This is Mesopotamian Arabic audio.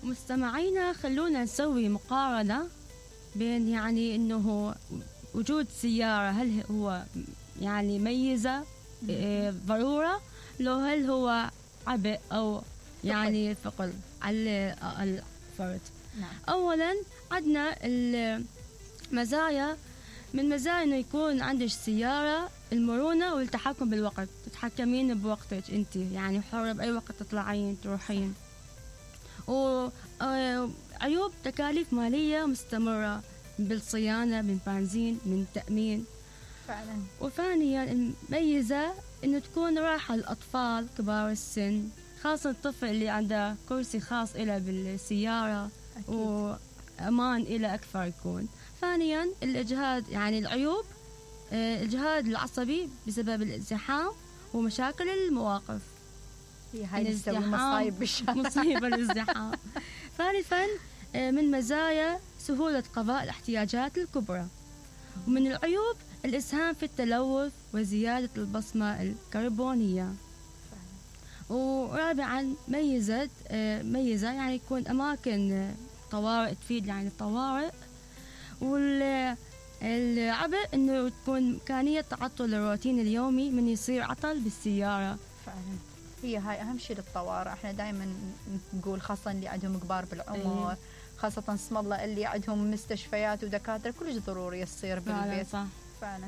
مستمعينا خلونا نسوي مقارنة بين يعني انه وجود سيارة هل هو يعني ميزة ضرورة لو هل هو عبء او يعني ثقل على الفرد. نعم. اولا عندنا المزايا، من مزايا انه يكون عندك سيارة المرونة والتحكم بالوقت، تتحكمين بوقتك انت يعني حرة باي وقت تطلعين تروحين. وعيوب تكاليف مالية مستمرة بالصيانة، من بنزين، من تأمين فعلا. وثانيا الميزة انه تكون راحة للأطفال كبار السن، خاصة الطفل اللي عنده كرسي خاص إله بالسيارة. أكيد. وأمان إله أكثر يكون. ثانيا الإجهاد، يعني العيوب الإجهاد العصبي بسبب الازدحام ومشاكل المواقف. هاي اللي تسوي مصايب بالشارع. مصيبة الازدحام. ثالثا من مزايا سهولة قضاء الاحتياجات الكبرى. ومن العيوب الإسهام في التلوث وزيادة البصمة الكربونية. ورابعا ميزة يعني يكون أماكن طوارئ، تفيد يعني الطوارئ. والعبء إنه تكون إمكانية تعطل الروتين اليومي من يصير عطل بالسيارة. فعلا هاي أهم شيء للطوارئ. احنا دائما نقول خاصة اللي عندهم كبار بالعمر، خاصة اسم الله اللي عندهم مستشفيات ودكاترة، كلش ضروري يصير بالبيت. صح. فعلا.